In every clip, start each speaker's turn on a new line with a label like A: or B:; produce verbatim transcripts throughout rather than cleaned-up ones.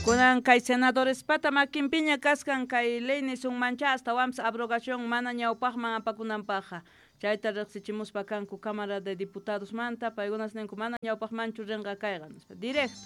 A: Kunan kay senadorespata makinpiña kaskan kay ley nisunmancha astawanpis abrogación mana ñawpaqman apakunanpaqqa chayta riqsichimuspa kanku Cámara de Diputadosmanta paykunas ninku mana ñawpaqmanchu rinqa kayqa nispa directo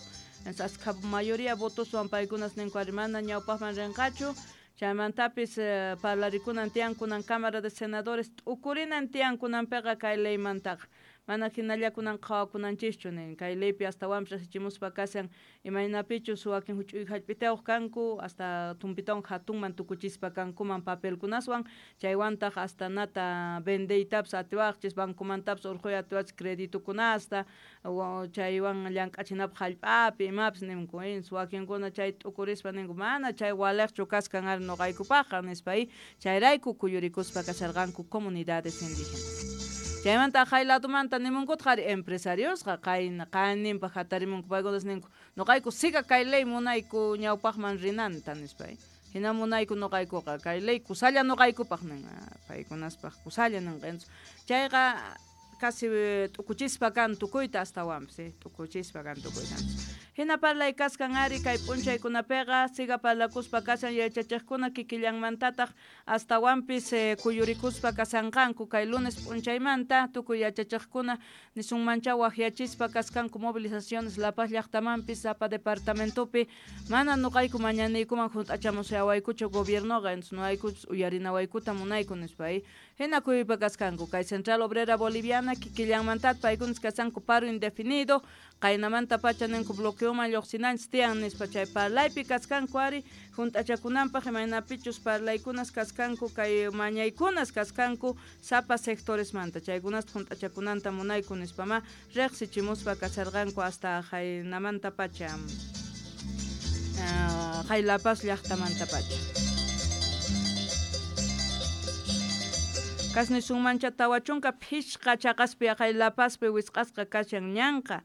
A: askha mayoría votoswan paykunas ninku ari mana ñawpaqman rinqachu chaymantapis parlarikunan tiyan kunan Cámara de Senadores t'ukurinan tiyan kunanpiqa kay leymantaqa mana hinallakunan qhawakunanchischu nin kay leypi astawanpis riqsichimuspa kashan imaynapichus wakin huch'uy hallp'itayuq kanku hasta tumpitawan hatunman tukuchispa kankuman papelkunaswan chaywantaq hasta nata vendeytapis atiwaqchis bancomantapas urquy atiwachis creditukunasta chaywan llank'achinapaq hallp'api imapis ninku wakinkuna chay t'ukurispa ninku mana chay waliqchu kaskan ari nuqaykupaqqa nispa chayrayku kuyurikuspa kasharqanku comunidades indígenas. Chaymanta hay ladumanta nimunkutaq ari empresariosqa qayna qayninpaq hatarimunku paykunas ninku nuqayku siga kay ley munayku ñawpaqman rinanta nispa hina munayku nuqaykuqa kay ley kusalla nuqaykupaq nin paykunaspaq kusalla ninqa chayqa casi t'ukuchispa kan tukuyta astawanpis t'ukuchispa kan tukuyta hina parlay kaskan ari kay p'unchaykunapiqa siga parlakuspa kashan yachachiqkuna kikillanmantataq astawanpis kuyurikuspa kasanqanku kay lunes p'unchaymanta tukuy yachachiqkuna nisunmancha waqyachispa kaskanku movilizaciones La Paz llaqtamanpis sapa departamentopi mana nuqayku mañaniykuman hunt'achamusayawaykuchu gobiernoqa entonces nuqaykuchus uyarinawaykuta munayku nispa hina kuyuypa kaskanku kay Central Obrera Boliviana kikillanmantataq paykunas kasanku paro indefinido qaynamanta pacha ninku bloqueoman lluqsinanchis tiyan nispa chay parlaypi kaskanku ari hunt'achakunanpaq imaynapichus parlaykunas kaskanku kay mañaykunas kaskanku sapa sectoresmanta chaykunasta hunt'achakunanta munayku nispama riqsichimuspa kasarqanku hasta qaynamanta pacha hay La Paz llaqtamanta pacha. Kasni sunmancha tawa chunka phishqa chaqaspi hay La Pazpi wisq'asqa kashan ñanqa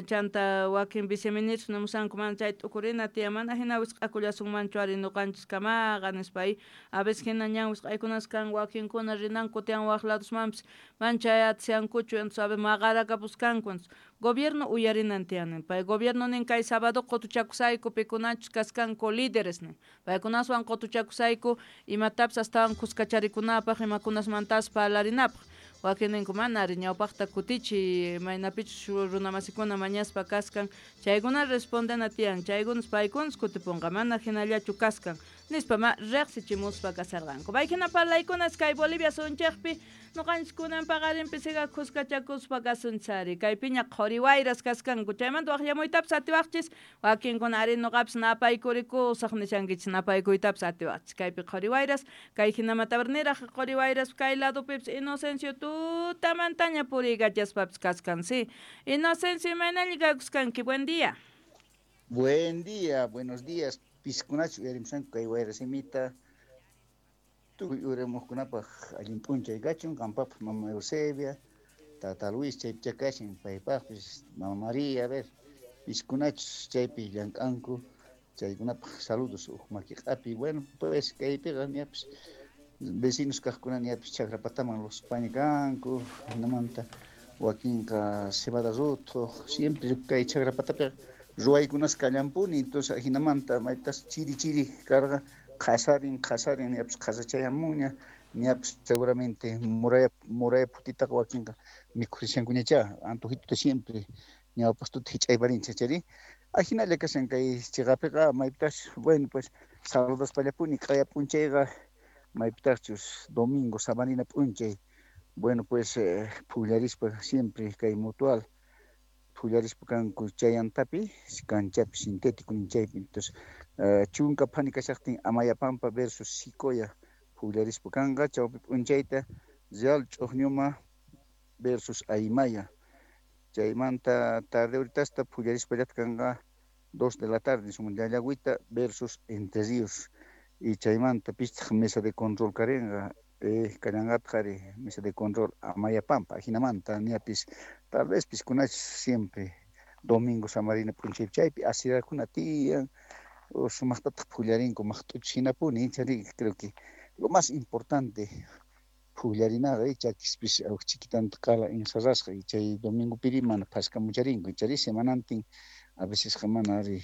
A: chanta wakin viceministros nimusanku mana chay t'ukurina tiyan mana hina wisq'akullasunmanchu ari nuqanchis kamaqa nispa a veces hina ñan wisq'aykunas kan wakinkuna rinanku tiyan waq ladosmanpis mana chay atisankuchu entonces a veces maqarakapuskanku entonces gobierno uyarinan tiyan pay gobierno nin kay sábado qutuchakusayku pikunachus kaskanku líderes nin paykunaswan qutuchakusayku imatapis astawan kuskacharikunapaq imakunasmantas parlarinapaq wakin ninku mana ari ñawpaqta kutichi maynapichus runamasikuna mañaspa kaskan chaykuna respondena tiyan chaykunas paykunas kutipunqa mana hinallachu kaskan nispa ma riqsichimuspa kasarqanku paykuna parlaykunas kay Bolivia sunchikpi nuqanchis kunan paqarinpi siga kuskachakuspa kasunchari kaypiña qhuri wayras kaskanku chaymanta waqllamuytapis atiwaqchis wakinkuna ari nuqapis napaykurikusaq nishankichis napaykuytapis atiwaqchis kaypi qhuri wayras kay hinamatapas niraq qhuri wayras kay ladupipis Inocencio tutamantaña puriykachaspapis kaskan sí Inocencio imaynalla kakuskanki buen día.
B: Buen día, buenos días. Piskunachu uyarimusanku kay wayrasimita tukuy uramuqkunapaq allin p'unchay kachun qampapaq mama Eusebia, tata Luis chaypicha kashan paypaqpis mama María, a ver piskunachus chaypi llank'anku chaykunapaq saludos uq makiq'api. Bueno, pues kaypiqa ñapis vecinos kaqkuna ñapis chakrapataman luspaña kanku hinamanta wakinqa cebada ruthuq siempre kay chakrapatapiqa ruwaykunas kallanpuni entonces hinamanta maytas chiri chiri karqa qhasarin qhasarin ñapis qhasachayamunña ñapis seguramente muraya muraya phutitaqa wakinqa mikhurishankuñachá antojituta siempre ñawpaqtuta hich'ayparinchik chari ajinalla kashan kay chiqapiqa maypitas bueno pues saludaspallapuni q'aya p'unchayqa maypitaqchus domingo sabanina p'unchay bueno pues eh, phullarispa siempre kay mutual phullarispa kanku chayantapi kanchapi sintético ninchaypi entonces uh, chunka phani kashaqtin Amayapampa versus Sicoya phullarispa kanqa chawpi p'unchayta Real Ch'uqñuma versus Aymaya chaymanta tarde horitasta phullarispallata kanqa dos de la tarde Llallagüita versus Entre Ríos y chaymanta pistaq mesa de control karinqa eh, kallanqataq ari mesa de control Amayapampa ajinamanta ñapis tal vez piskunachis siempre domingo samarina p'unchaypi chaypi asirakuna tiyan sumaqtataq phullarinku maqt'uchis hinapuni chari creo que lo más importante phullarinaqa chakispis chiquitanta qala encerrasqa y chay domingo piri mana phaskamucharinku chari semanantin a veces mana ari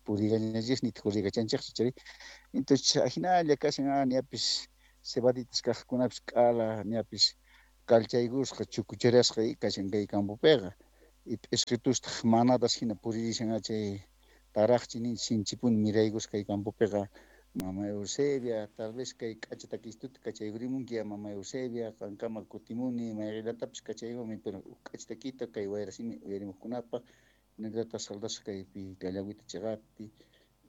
B: Purigañachis nitaq urigachanchikchu chay. Entonces ahinalla kashan ñapis cebaditas kaqkunapis k'ala ñapis kallchaykusqa chukucharasqa kashan kay campopiqa. Y p'isqitustaq manadas hina puririshan chay taraqchi ninchik sinchipuni miraykusqa kay campopiqa. Mama Eusebia, tal vez kay k'acha takistuta kachaykurimunki ya mama Eusebia, qankama kutimuni mayqillatapis kachaykumi, pero k'acha takita kay wayrasimi uyarimuqkunapaq hinallataq saldasqa kaypi Callagüita chiqapi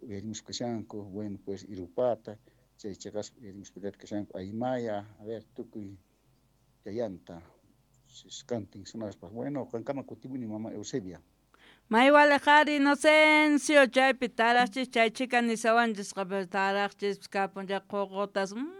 B: uyarimuspa kashanku, bueno pues Irupata, chay chiqaspa uyarimuspa kashanku Aymaya, a ver tukuy chayanta kantin sonaspa. Bueno, qankama kutimuni mama Eusebia.
A: Maywaliqari Inocencio chaypi taraqchis chay chika nisawanchisqa taraqchis kapun chay ququtas mm,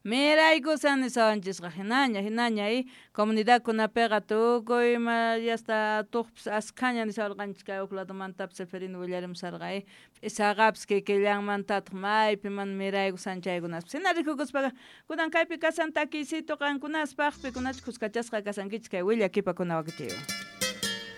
A: miraykusan nisawanchisqa hinaña hinaña y comunidadkunapiqa tukuy ima yasta tuqpis askhaña nisawarqanchis kay huk ladomantapis Seferino willarimusarqa y p'isaqapis kikillanmantataq maypi mana miraykusan chaykunaspis hina rikukuspaqa kunan kaypi kasan takiycito qankunaspaq pikunachu kuskachasqa kasankichis kay willakipakuna wakichiywan.